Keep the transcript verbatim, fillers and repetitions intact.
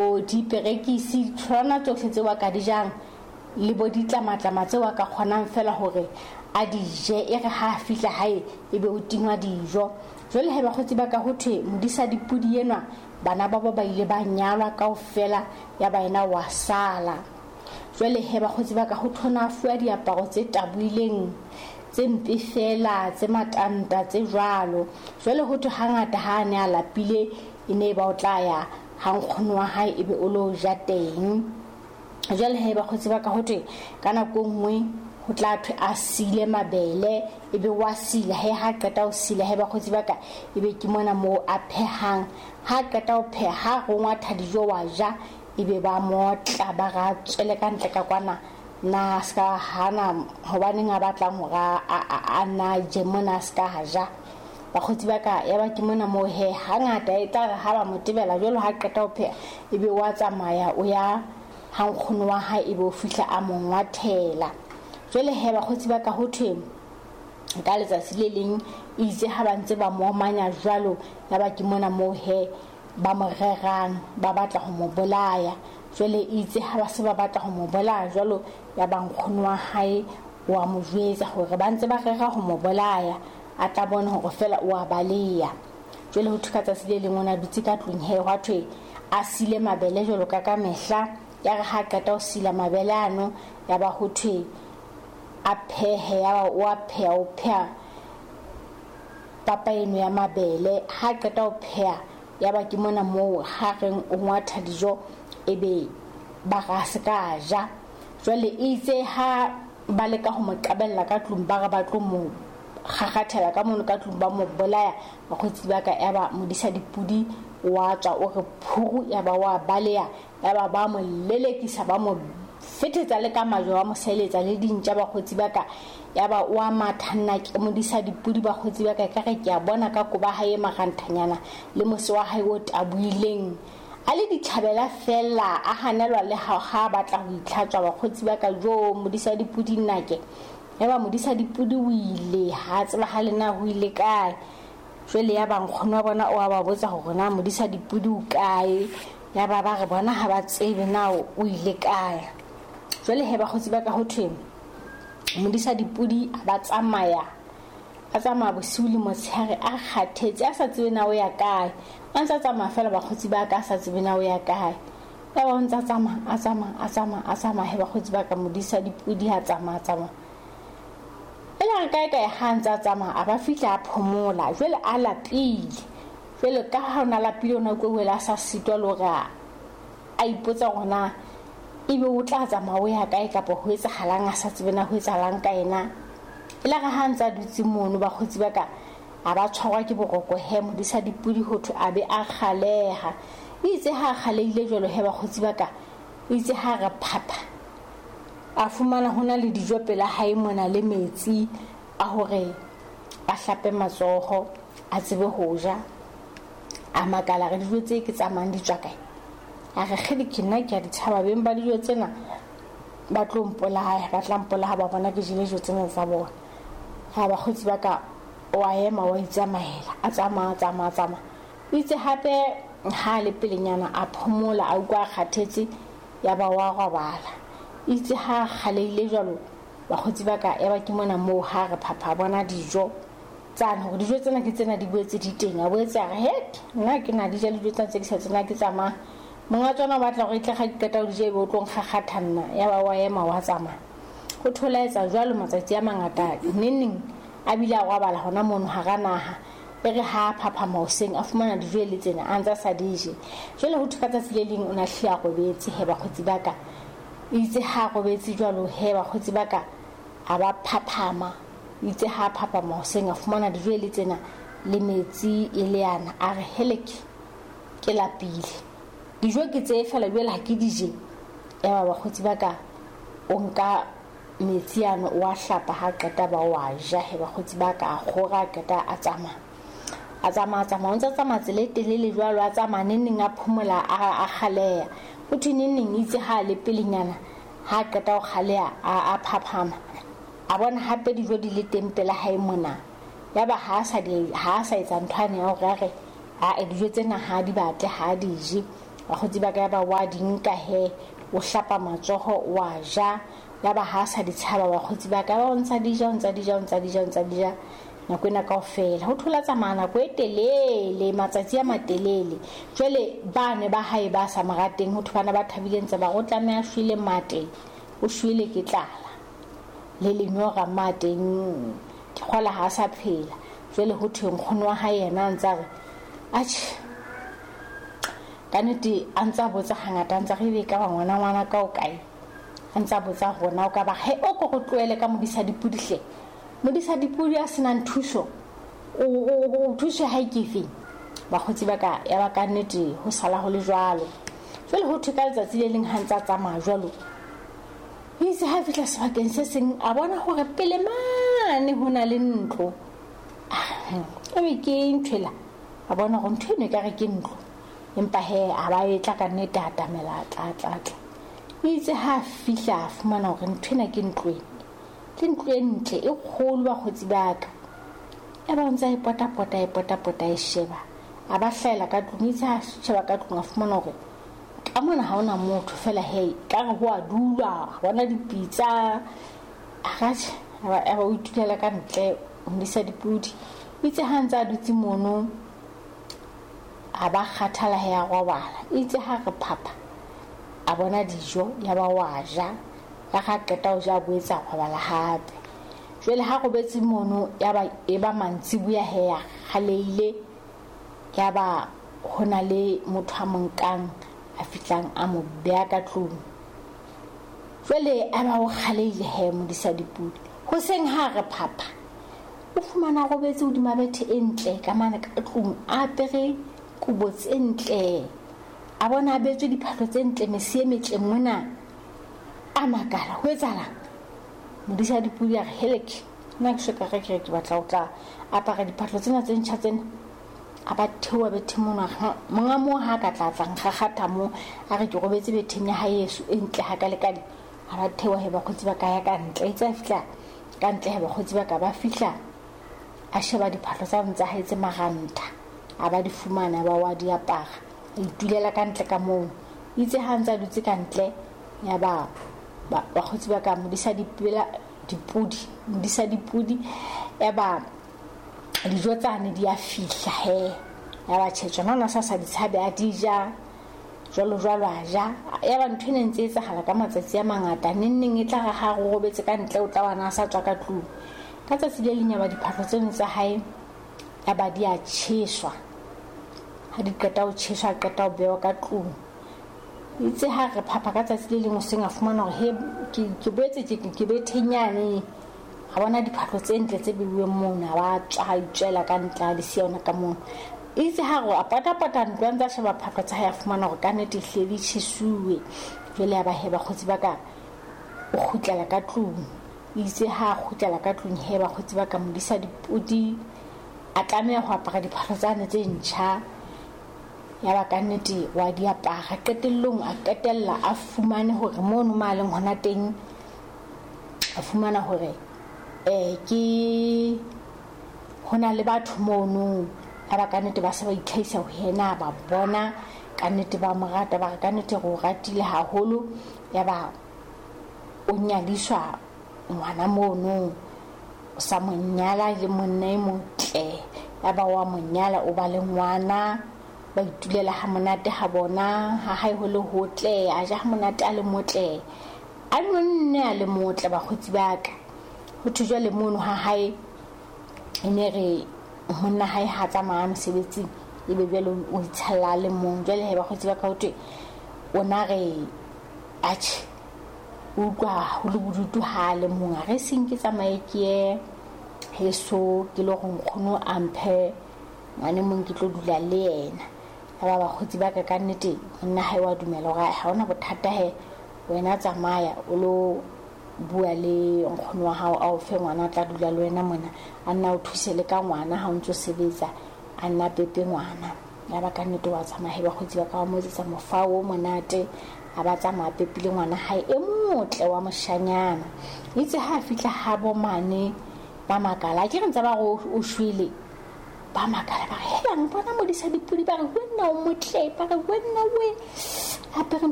Diperekisi, ditholwana tsohle tseo a ka di jang le bo ditlamatlama tseo a ka kgonang fela hore a di je. E re ha a fihla hae ebe o tingwa dijo. Jwale he bakgotsi ba ka, ho thwe modisa dipudi enwa bana ba bo ba ile ba nyalwa kaofela, ya ba yena wa sala. Jwale he bakgotsi ba ka, ho thona a fuwa diaparo tse taboileng, tse mpe fela, tse matanta, tse jwalo. Jwale ho thwe hangata ha a ne a lapile e ne ba o tla ya ha nkgono wa hae ebe o lo ja teng. Jwale he bakgotsi ba ka, ho thwe ka nako e nngwe ho tla thwe a sile mabele, ebe wa sila. He ha qeta ho sila he bakgotsi ba ka, ebe ke mona moo a phehang. Ha qeta ho pheha, ha rongwatha dijo wa ja, ebe ba motla ba ra tswele ka ntle ka kwana. Na ska hana hobaneng a batlang hore a na je mona, ska ha ja. Bakgotsi ba ka, ya ba ke mona moo he hangata e tla re ha ba mo tebela jwalo, ha qeta ho pheha ebe wa tsamaya o ya ha nkgono wa hae, ebe o fihla a mo ngwathela. Jwale he bakgotsi ba ka, ho thwe ka letsatsi le leng itse ha ba ntse ba mo omanya jwalo, ya ba ke mona moo he ba mo rerang, ba batla ho mo bolaya. Jwale itse ha ba se ba batla ho mo bolaya jwalo, ya ba nkgono wa hae wa mo jwetsa hore ba ntse ba rera ho mo bolaya, a tla bona hore fela o a baleya. Jwale ho thwe ka tsatsi le leng o na dutse ka tlung he, hwa thwe a sile mabele jwalo ka ka mehla. Ya re ha qeta ho sila mabele ano, ya ba ho thwe a phehe, ya ba o a pheha, o pheha papa eno ya mabele. Ha qeta ho pheha, ya ba ke mona moo ha reng o ngwatha dijo, ebe ba ra se ka ja. Jwale itse ha ba leka ho mo qabella ka tlung, ba re ba tlo mo kgakgathela ka mono ka tlung, ba mo bolaya. Bakgotsi ba ka, ya ba modisa dipudi wa tswa o re phuru, ya ba wa baleya, ya ba ba mo lelekisa, ba mo fetetsa le ka majwe, ba mo seletsa le dintja. Bakgotsi ba ka, ya ba wa matha nna ke modisa dipudi. Bakgotsi ba ka, ka re ke a bona ka koba hae maranthanyana le mose wa hae o taboileng, a le dithabela fela, a hanelwa le ha ha batla ho itlhatswa. Bakgotsi ba ka, jo modisa dipudi nna ke ya ba modisa dipudi o ile ha tseba ha le na ho ile kae. Jwale ya ba nkgono wa bona o a ba botsa hore na modisa dipudi o kae, ya ba ba re bona ha ba tsebe na o ile kae. Jwale he bakgotsi ba ka, ho thwe modisa dipudi a ba tsamaya, a tsamaya bosiu le motshehare, a kgathetse, a sa tsebe na o ya kae. A ntsa tsamaya fela bakgotsi ba ka, a sa tsebe na o ya kae. Ya ba o ntsa tsamaya, a tsamaya, a tsamaya, a tsamaya. He bakgotsi ba ka, modisa dipudi ha tsamaya, tsamaya. E le re kae kae ha ntsa tsamaya, a ba fihla a phomola. Jwale a lapile, jwale ka ha o na lapile, o na utlwe a sa sitwa le hore a ipotsa hore na ebe o tla tsamaya o ya kae, kapa ho etsahalang, a sa tsebe na ho etsahalang ka yena. E le re ha ntsa dutse mono bakgotsi ba ka, a ba tshwarwa ke boroko. He modisa dipudi ho thwe a be a kgaleha. Itse ha a kgalehile jwalo he bakgotsi ba ka, itse ha re phapha, a fumana hona le dijo pela hae mona le metsi a hore a hlape matsoho, a tsebe ho ja. A makala re dijo tse ke tsamayang di tswa kae? A re kgedi ke nna ke a di tshaba, beng ba dijo tsena ba tlo mpolaya, ba tla mpolaya ba bona ke jele dijo tsena tsa bona. Ha bakgotsi ba ka, wa ema wa itsamaela, a tsamaya, tsamaya, tsamaya. Itse hape ha le pelenyana a phomola, a utlwa a kgathetse, ya ba wa robala. Itse ha kgaleile jwalo bakgotsi ba ka, ya ba ke mona moo ha re phapha bona dijo tsane, hore dijo tsena ke tsena di boetse di teng. A boetse a re he nna ke na di ja dijo tsena tse ke sa tsena ke tsamaya. Monga tsona o batla hore e tle ga ke qeta ho di ja ebe o tlo nkgakgatha nna. Ya ba wa ema wa tsamaya. Ho thola etsa jwalo matsatsi a mangata, neneng a bile a robala hona mono hara naha. E re ha phaphama hoseng a fumana dijo le tsena a ntsa sa di je. Jwale ho thwe ka tsatsi le leng o na hlile a robetse he bakgotsi ba ka. Itse ha robetse jwalo he bakgotsi ba ka, a ba phaphama. Itse ha phaphama hoseng a fumana dijo le tsena le metsi e le yana. A re heleke ke lapile, dijo ke tse fela jwale ha ke di je. Ya ba bakgotsi ba ka, o nka metsi ano o a hlapa, ha qeta ba wa ja. He bakgotsi ba ka, a kgora, a qeta a tsamaya, a tsamaya, tsamaya. O ntsa tsamaya tsela e telele jwalo, a tsamaya neneng a phomola, a kgaleha. Ho thwe neneng itse ha le pelenyana, ha qeta ho kgaleha, a phaphama, a bona hape dijo di le teng pela hae mona. Ya ba ha sa di, ha sa etsa ntho ane ya hore a re a dijo tsena ha di batle, ha di je. Bakgotsi ba ka ba wa di nka he, o hlapa matsoho wa ja. Ya ba ha sa di tshaba bakgotsi ba ka, ba o ntsa di ja, o ntsa di ja, o ntsa di ja, o ntsa di ja nako ena kaofela. Ho thola tsamaya nako e telele, matsatsi a matelele. Jwale ba ne ba hae ba sa mo rateng, ho thwe bana ba thabileng tse ba re o tlameha a shwele mate, o shwele ke tlala le lenyora mateng, ke kgola ha sa phela. Jwale ho thwe nkgono wa hae yena a ntsa re atjhe, ka nnete a ntsa botsa hangata, a ntsa re ebe ka ba ngwana ngwana ka o kae, a ntsa botsa rona o ka ba he o ko go tlohele ka modisa dipudi hle. Modisa dipudi a senang thuso, o o thuso ha e ke feng. Bakgotsi ba ka ya ba ka nnete ho sala ho le jwalo. Jwale ho thwe ka letsatsi le leng ha ntsa tsamaya jwalo, itse ha fihla sebakeng se seng a bona hore pele mane ho na le ntlo. Ebe ke ntho ela, a bona hore ntho eno ekare ke ntlo, empa he a ba e tla ka nnete, a atamela, tla tla tla. Itse ha fihla a fumana hore ntho ena ke ntlo ena, ke ntlo e ntle e kgolo bakgotsi ba ka. Ya ba ntse a e potapota, e potapota, e sheba, a ba hlahela ka tlung. Itse ha sheba ka tlung a fumana hore ka mona ha hona motho fela, he ka re ho a dulwa, bona dipitsa. A ratjhe, a ba o itulela ka ntle o modisa dipudi. Itse ha ntse a dutse mono a ba kgathala he a robala. Itse ha re phapha a bona dijo, ya ba wa ja. Ya ga qeta ho ja, a boetse a robala hape. Jwale ha robetse mono ya ba e ba mantsiboya he ya kgaleile, ya ba ho na le motho a mo nkang a fihlang a mo beha ka tlung. Jwale a ba o kgaleile he modisa dipudi. Hoseng ha re phapha o fumana robetse hodima bethe e ntle ka mane ka tlung, a apere kobo tse ntle, a bona a betswe diphahlo tse ntle, mese e metle mona. A makala, ho etsahalang? Modisa dipudi a re heleke, nna ke soka re ke re ke batla ho tla apara diphahlo tsena tse ntjha tsena. A ba theoha bethe mono, monga moo ha ka tla tla nkgakgatha moo, a re ke robetse betheng ya hae eso e ntle hakalekale. A ba theoha he bakgotsi ba ka ya ka ntle. Itse a fihla ka ntle he bakgotsi ba ka ba fihla, a sheba diphahlo tsa tsa hae tse marantha, a ba di fumana, ba wa di apara, a itulela ka ntle ka moo. Itse ha ntse a dutse ka ntle, ya ba bakgotsi ba ka modisa dipela dipudi, modisa dipudi, ya ba dijo tsane di a fihla he. Ya ba tjhe tsona ona sa sa di tshabe, a di ja jwalo jwalo, a ja. Ya ba ntho ena ntse e etsahala ka matsatsi a mangata. Neng neng e tla re ha re robetse ka ntle, o tla bona a sa tswa ka tlung. Ka tsatsi le leng ya ba diphahlo tseno tsa hae ya ba di a tjheswa. Ha di qeta ho tjheswa, a qeta ho bewa ka tlung. Itse ha re phapha ka tsatsi le leng hoseng, a fumana hore he ke ke boetse ke ke bethenyane. A bona diphahlo tse ntle tse beuweng mono, a ba tswa, a itswela ka ntle, a di siya hona ka mono. Itse ha re a patapata ntlo, a ntse a sheba phahlo tsa hae, a fumana hore ka nnete ehlile di tjhesuwe. Jwale ya ba he bakgotsi ba ka o kgutlela ka tlung. Itse ha a kgutlela ka tlung he bakgotsi ba ka modisa dipudi a tlameha ho apara diphahlo tsane tse ntjha. Ya ba ka nnete wa di apara. Qetellong a qetella a fumane hore mono ma leng hona teng, a fumana hore eh ke hona le batho mono. Ya ba ka nnete ba se ba itlhahisa ho yena, ba bona ka nnete ba mo rata, ba re ka nnete re o ratile haholo. Ya ba o nyadiswa ngwana mono, o sa mo nyala le monna e motle. Ya ba wa mo nyala, o ba le ngwana, ba itulela ha monate ha bona, ha hae ho le hotle, a ja ha monate a le motle, a nonne a le motle bakgotsi ba ka. Ho thwe jwale mono ha hae e ne re monna hae ha tsamaya mosebetsing, ebe jwale o itshalla le mong. Jwale he bakgotsi ba ka ho thwe o na re atjhe o utlwa ho le bodutu ha le mong, a re seng ke tsamaye ke ye heso ke le hore nkgono a mphe ngwane mong ke tlo dula le yena. Ya ba bakgotsi ba ka ka nnete monna hae wa dumela hore ha hona bothata he, wena tsamaya o lo bua le nkgono wa hao a o fe ngwana a tla dula le wena mona, a nna o thuse le ka ngwana ha o ntso sebetsa, a nna pepe ngwana. Ya ba ka nnete wa tsamaya he bakgotsi ba ka ba mo etsetsa mofao o monate, a ba tsamaya pepile ngwana hae e motle wa moshanyana. Itse ha a fihla ha bo mane ba makala, ke re ntse ba re o shwele. Ba makala, ba re, helang, bona modisa dipudi. Ba re, wena o motle. Ba re, wena we apere ntho.